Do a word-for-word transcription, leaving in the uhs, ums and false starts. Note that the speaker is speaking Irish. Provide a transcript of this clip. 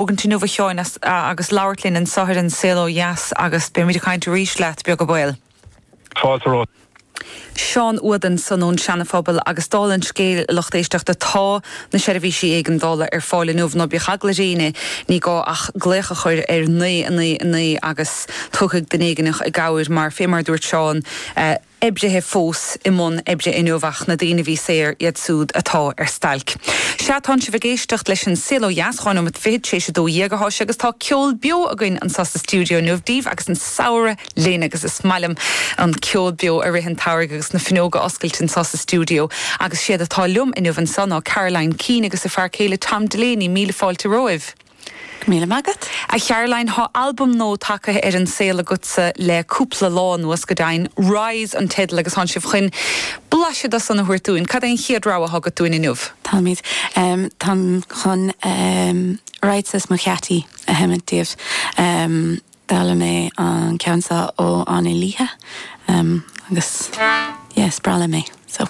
Tógaint inniu a Sheáin agus labhairt linn anseo ar An Saol Ó Dheas agus beimid ag caint arís leat beag an baol. Fáilte romhat. Seán Uad ansan ón Seana-Phobal agus dála an scéil lucht éisteachta tá na seirbhísí éigeandála ar fáil inniu ná bíodh eagla ar éinne ní gá ach glaoch a chur ar naoi a naoi a naoi agus tiocfaidh duine éigineach i gcabhair mar fé mar dúirt Seán oibrithe fós i mbun oibre inniu ach na daoine a bhí saor iad súd atá ar stailc. Sea tánn sibh ag éisteacht leis an Saol Ó Dheas, dhá nóiméad fichead tar éis a dó dhéag atá sé agus tá ceol beo againn anseo sa stiúideo inniu daoibh agus an samhradh linn agus is maith liom an ceol beo i rith an tsamhraidh agus na fuinneoga oscailte anseo sa stiúideo agus siad atá liom inniu anseo ná Caroline Keane agus a fear céile Tom Delaney míle fáilte romhaibh. Míle maith agat. A Charoline tá albam nua tagtha ar an saol agatsa le cúpla lá anuas go deimhin Rise an teideal agus tánn sibh chun blaiseadh de san a thabhairt dúinn. Cad é an chéad rogha atá agat dúinn inniu? Táimid um, táim chun um, Rights mo cheataí a sheinnt daoibh. Um, D'fhoghlaim mé an ceann seo ó Anna Líthe um, agus yes, breá liom é. So.